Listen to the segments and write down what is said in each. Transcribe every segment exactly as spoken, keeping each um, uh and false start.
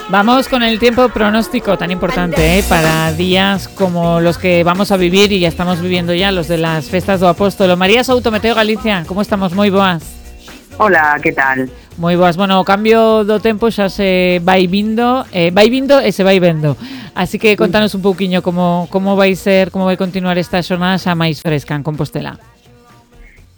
Vamos con el tiempo pronóstico tan importante, ¿eh? Para días como los que vamos a vivir y ya estamos viviendo ya, los de las festas do Apóstolo. María Souto, Meteo Galicia, como estamos? Moi boas. Hola, que tal? Moi boas. Bueno, o cambio do tempo xa se vai vindo, eh, vai vindo e se vai vendo. Así que contanos un pouquiño como como vai ser, como vai continuar esta xornada xa máis fresca en Compostela.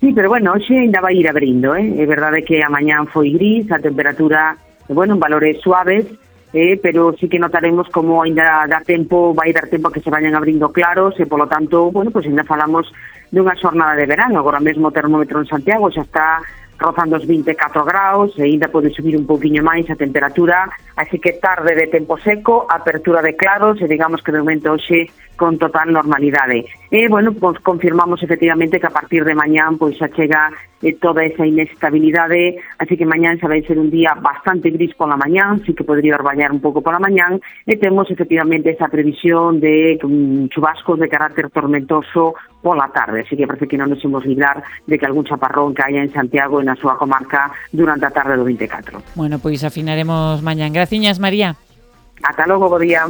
Sí, pero bueno, hoxe ainda vai ir abrindo, eh? É verdade que a mañán foi gris, a temperatura, bueno, en valores suaves, eh, pero sí que notaremos como ainda dá tempo, vai dar tempo a que se vayan abrindo claros e, polo tanto, bueno, pues ainda falamos dunha xornada de verano. Agora mesmo o termómetro en Santiago xa está rozando os vinte e catro graus e ainda pode subir un pouquiño máis a temperatura, así que tarde de tempo seco, apertura de claros e digamos que de momento hoxe con total normalidade. E, bueno, pues confirmamos efectivamente que a partir de mañán pois xa chega eh, toda esa inestabilidade, así que mañán xa vai ser un día bastante gris pola mañán, sí que podría orballar un pouco pola mañán, e temos efectivamente esa previsión de um, chubascos de carácter tormentoso pola tarde, así que parece que non nos imos librar de que algún chaparrón caia en Santiago e na súa comarca durante a tarde do vinte e catro. Bueno, pois afinaremos mañán. Graciñas, María. Hasta luego, bo día.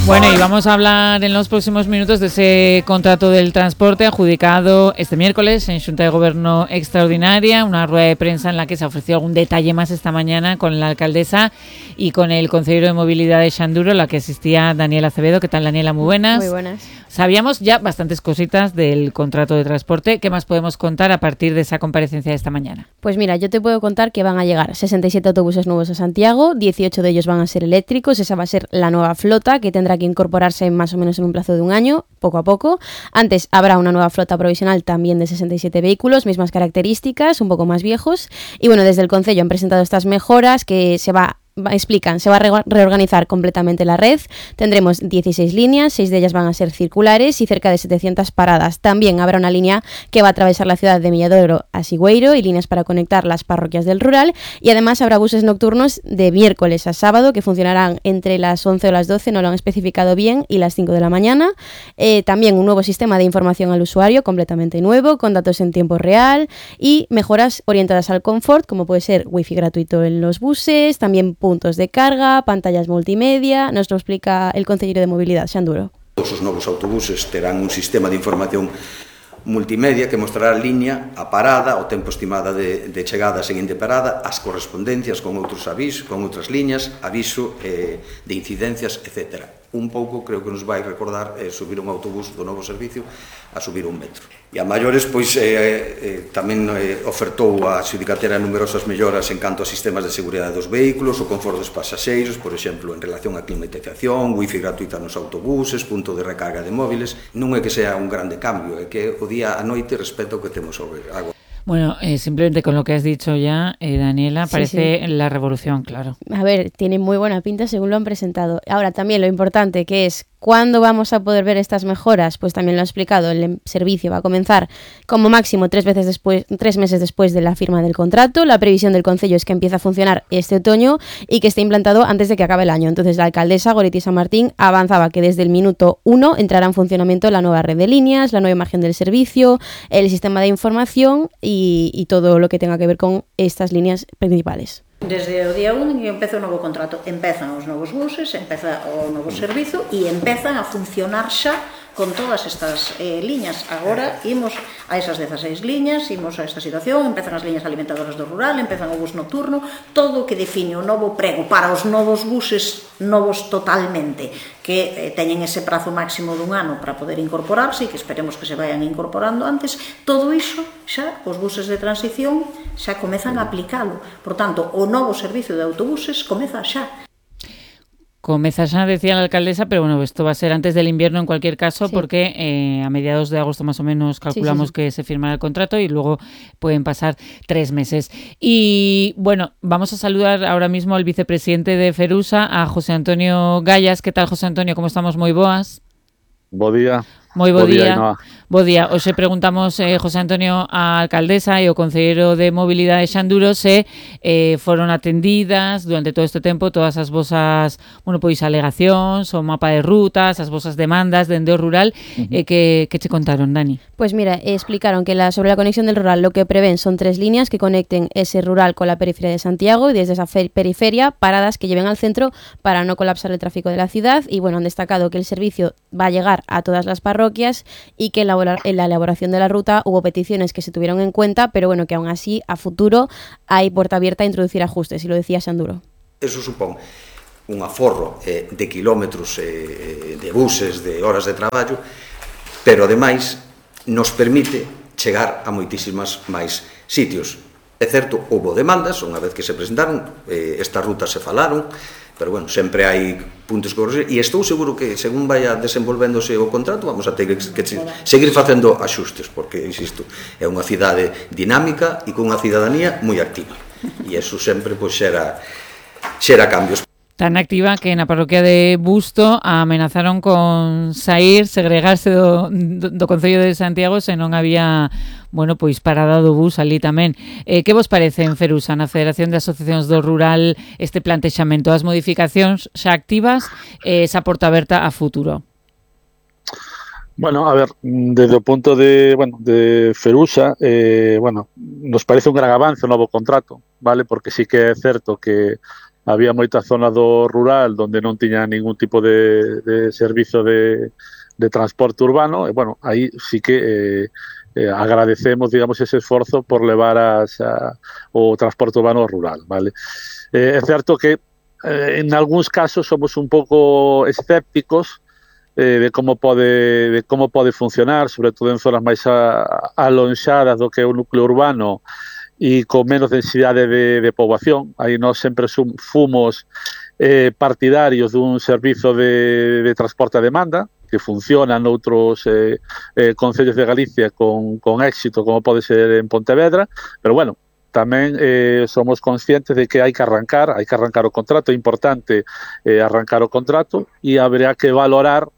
Bueno, y vamos a hablar en los próximos minutos de ese contrato del transporte adjudicado este miércoles en Xunta de Gobierno Extraordinaria, una rueda de prensa en la que se ofreció algún detalle más esta mañana con la alcaldesa y con el consejero de Movilidad de Xanduro, a la que asistía Daniela Acevedo. ¿Qué tal, Daniela? Muy buenas. Muy buenas. Sabíamos ya bastantes cositas del contrato de transporte. ¿Qué más podemos contar a partir de esa comparecencia de esta mañana? Pues mira, yo te puedo contar que van a llegar sesenta y siete autobuses nuevos a Santiago, dieciocho de ellos van a ser eléctricos, esa va a ser la nueva flota que tendrá que incorporarse más o menos en un plazo de un año, poco a poco. Antes habrá una nueva flota provisional también de sesenta y siete vehículos, mismas características, un poco más viejos. Y bueno, desde el Concello han presentado estas mejoras que se va explican, se va a reorganizar completamente la red, tendremos dieciséis líneas, seis de ellas van a ser circulares y cerca de setecientas paradas. También habrá una línea que va a atravesar la ciudad de Milladoro a Sigüeiro y líneas para conectar las parroquias del rural, y además habrá buses nocturnos de miércoles a sábado que funcionarán entre las once o las doce, no lo han especificado bien, y las cinco de la mañana. Eh, también un nuevo sistema de información al usuario completamente nuevo, con datos en tiempo real y mejoras orientadas al confort, como puede ser wifi gratuito en los buses, también puntos de carga, pantallas multimedia. Nos lo explica el consejero de Movilidad, Xanduro. Todos os novos autobuses terán un sistema de información multimedia que mostrará a línea, a parada, o tempo estimada de, de chegada a seguinte parada, as correspondencias con outros avisos, con outras liñas, aviso eh, de incidencias, etcétera. Un pouco creo que nos vai recordar eh, subir un autobús do novo servicio a subir un metro. E a maiores, pois, eh, eh, tamén eh, ofertou a xudicatera numerosas melloras en canto a sistemas de seguridade dos vehículos, o confort dos pasaxeiros, por exemplo, en relación á climatización, wifi gratuita nos autobuses, punto de recarga de móviles. Non é que sea un grande cambio, é que o día a noite respecto ao que temos sobre agua. Bueno, eh, simplemente con lo que has dicho ya, eh, Daniela, parece sí, sí. la revolución, claro. A ver, tiene muy buena pinta según lo han presentado. Ahora también lo importante que es, ¿cuándo vamos a poder ver estas mejoras? Pues también lo ha explicado, el servicio va a comenzar como máximo tres veces después, tres meses después de la firma del contrato. La previsión del Concello es que empiece a funcionar este otoño y que esté implantado antes de que acabe el año. Entonces la alcaldesa Goretti San Martín avanzaba que desde el minuto uno entrará en funcionamiento la nueva red de líneas, la nueva imagen del servicio, el sistema de información y, y todo lo que tenga que ver con estas líneas principales. Desde o día un que empeza o novo contrato, empezan os novos buses, empeza o novo servizo e empezan a funcionar xa con todas estas eh, liñas. Agora imos a esas dezaseis liñas, imos a esta situación, empezan as liñas alimentadoras do rural, empezan o bus nocturno, todo o que define o novo prego para os novos buses novos totalmente, que eh, teñen ese prazo máximo dun ano para poder incorporarse e que esperemos que se vayan incorporando antes. Todo iso xa, os buses de transición xa comezan a aplicalo. Por tanto, o novo servicio de autobuses comeza xa. Comeza xa, decía la alcaldesa, pero bueno, esto va a ser antes del invierno en cualquier caso, sí. porque eh, a mediados de agosto más o menos calculamos sí, sí, sí. que se firmará el contrato y luego pueden pasar tres meses. Y bueno, vamos a saludar ahora mismo al vicepresidente de Ferusa, a José Antonio Gallas. ¿Qué tal, José Antonio? ¿Cómo estamos? Moi boas. Bo día. Moi bo, bo día. día Bo día, hoxe preguntamos, eh, José Antonio, a alcaldesa e o concelleiro de Mobilidade Xanduro se eh, foron atendidas durante todo este tempo todas as vosas, bueno, pois alegacións, o mapa de rutas, as vosas demandas dende o rural, uh-huh. eh, que, que che contaron, Dani? Pues mira, eh, explicaron que la, sobre la conexión del rural lo que prevén son tres líneas que conecten ese rural con la periferia de Santiago y desde esa periferia paradas que lleven al centro para no colapsar el tráfico de la ciudad. Y bueno, han destacado que el servicio va a llegar a todas las parroquias y que en la, en la elaboración de la ruta hubo peticiones que se tuvieron en cuenta, pero bueno, que aún así a futuro hay puerta abierta a introducir ajustes, y lo decía Xanduro. Eso supón un aforro eh, de kilómetros, eh, de buses, de horas de traballo, pero ademais nos permite chegar a moitísimas máis sitios. É certo, houve demandas, unha vez que se presentaron, eh, estas rutas se falaron, pero bueno, sempre hai puntos que corregir, e estou seguro que según vaya desenvolvéndose o contrato vamos a ter que, que seguir facendo axustes, porque, insisto, é unha cidade dinámica e con unha cidadanía moi activa, e eso sempre pois xera, xera cambios. Tan activa que na parroquia de Busto amenazaron con sair, segregarse do, do, do Concello de Santiago se non había, bueno, pois parada do bus ali tamén. Eh, que vos parece en Ferusa, na Federación de Asociacións do Rural, este plantexamento, as modificacións xa activas, eh, esa porta aberta a futuro? Bueno, a ver, desde o punto de, bueno, de Ferusa, eh, bueno, nos parece un gran avance o novo contrato, vale? Porque sí que é certo que había moita zona do rural onde non tiña ningún tipo de, de servizo de, de transporte urbano, e, bueno, aí sí que eh, eh, agradecemos, digamos, ese esforzo por levar as, a, o transporte urbano rural, vale? Eh, é certo que eh, en algúns casos somos un pouco escépticos eh, de como pode de como pode funcionar, sobre todo en zonas máis a, alonxadas do que é o núcleo urbano, e con menos densidade de, de poboación. Aí nós sempre sum, fomos eh, partidarios dun servizo de, de transporte a demanda que funciona noutros eh, eh, concellos de Galicia con, con éxito, como pode ser en Pontevedra, pero bueno, tamén eh, somos conscientes de que hai que arrancar, hai que arrancar o contrato, é importante eh, arrancar o contrato, e haberá que valorar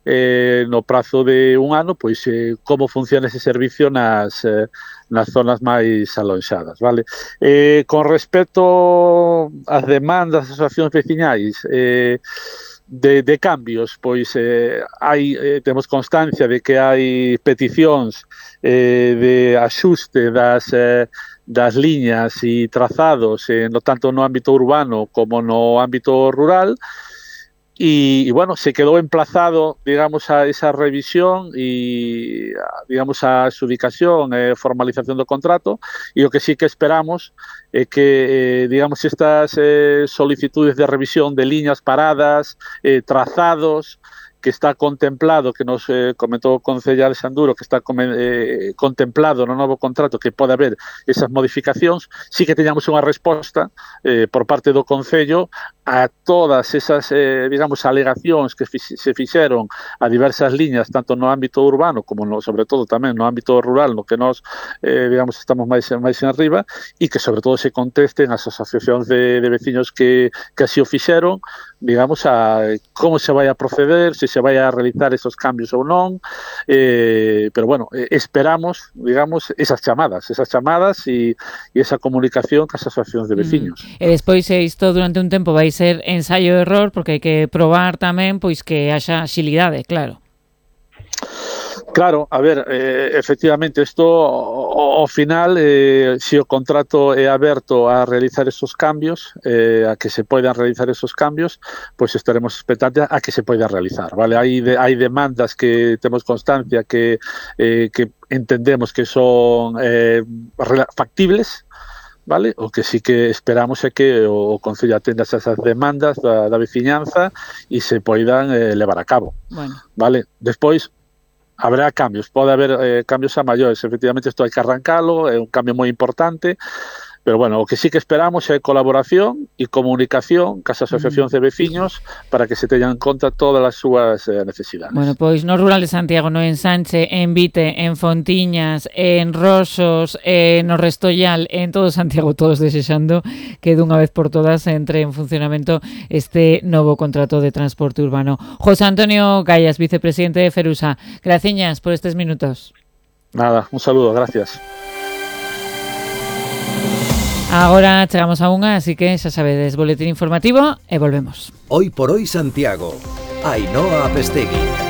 eh, no prazo de un ano pois eh, como funciona ese servicio nas eh, nas zonas máis alonxadas, vale? Eh, con respecto ás demandas das asociacións veciñais, eh, de, de cambios, pois eh, hai, eh, temos constancia de que hai peticións eh, de axuste das, eh, das liñas e trazados, eh, no tanto no ámbito urbano como no ámbito rural, y, y bueno, se quedó emplazado, digamos, a esa revisión y, digamos, a adjudicación, eh, formalización do contrato, e o que sí que esperamos é que, eh, digamos, estas eh, solicitudes de revisión de liñas paradas, eh, trazados, que está contemplado, que nos eh, comentou o concellal Xanduro, que está eh, contemplado no novo contrato, que pode haber esas modificacións, sí que teñamos unha resposta eh, por parte do Concello a todas esas, eh, digamos, alegacións que fi se fixeron a diversas liñas, tanto no ámbito urbano como, no, sobre todo, tamén no ámbito rural, no que nós, eh, digamos, estamos máis, máis en arriba, e que, sobre todo, se contesten as asociacións de, de veciños que, que así o fixeron, digamos, a como se vai a proceder, se se vai a realizar esos cambios ou non, eh, pero bueno, eh, esperamos, digamos, esas chamadas, esas chamadas e, e esa comunicación cas asociacións de veciños. Mm. E despois isto durante un tempo vai ser ensaio e error, porque hai que probar tamén pois que haxa xilidade, claro. Claro, a ver, eh, efectivamente, isto ao final, eh, se o contrato é aberto a realizar esos cambios, eh, a que se poidan realizar esos cambios, pois pues estaremos expectantes a que se poida realizar, vale? Hai, de, hai demandas que temos constancia que, eh, que entendemos que son eh, factibles, vale? O que sí que esperamos é que o Concello atenda esas demandas da, da veciñanza e se poidan eh, levar a cabo, bueno. Vale? Despois, habrá cambios, pode haber eh, cambios a maiores, efectivamente isto hai que arrancalo, é un cambio moi importante, Pero bueno, o que sí que esperamos é colaboración e comunicación cas asociacións de veciños para que se teñan en conta todas as súas eh, necesidades. Bueno, pois no rural de Santiago, no Ensanche, en Vite, en Fontiñas, en Rosos, eh, no Restollal, en todo Santiago, todos desexando que dunha vez por todas entre en funcionamento este novo contrato de transporte urbano. José Antonio Gallas, vicepresidente de Ferusa, graciñas por estes minutos. Nada, un saludo, gracias. Agora chegamos a unha, así que xa sabedes, boletín informativo e volvemos. Hoy por hoy Santiago, Ainhoa Apestegui.